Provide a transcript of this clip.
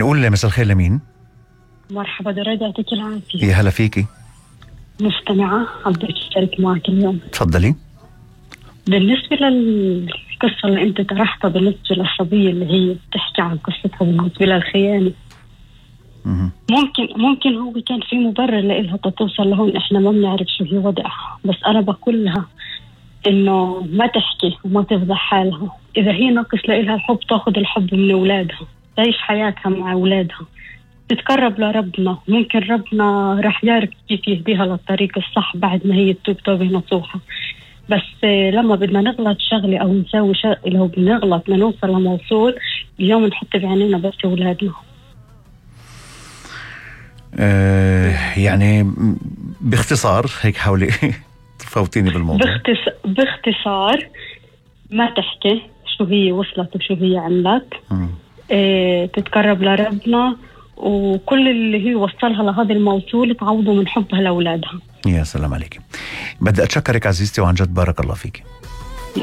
نقول مساء الخير لمين؟ مرحبا، دراد يعطيك العافية. يا هلا فيكي. مستمعة حبيت أشارك معك اليوم. تفضلي. بالنسبة للقصة اللي أنت طرحتها بالنسبة للصبية اللي هي بتحكي عن قصتها بالنسبة للخيانة، ممكن هو كان في مبرر لإلها توصل لهون، إحنا ما بنعرف شو هي وضعها، بس أنا بقول لها إنه ما تحكي وما تفضح حالها. إذا هي ناقص لإلها الحب تأخذ الحب من أولادها، تعيش حياتها مع أولادها، تتقرب لربنا. ممكن ربنا رح يعرف كيف يهديها للطريق الصح بعد ما هي تتوب توبة نصوحة. بس لما بدنا نغلط شغلة أو نسوي شغلة، لو بنغلط بدنا نوصل لموصول، اليوم نحط بعينينا بس أولادنا. يعني باختصار هيك حاولي تفوتيني بالموضوع. باختصار ما تحكي شو هي وصلت وشو هي عملت. تتقرب لربنا، وكل اللي هي وصلها لهذا الموصول تعوضه من حبها لأولادها. يا سلام عليك. بدي أتشكرك عزيزتي، وعن جد بارك الله فيك.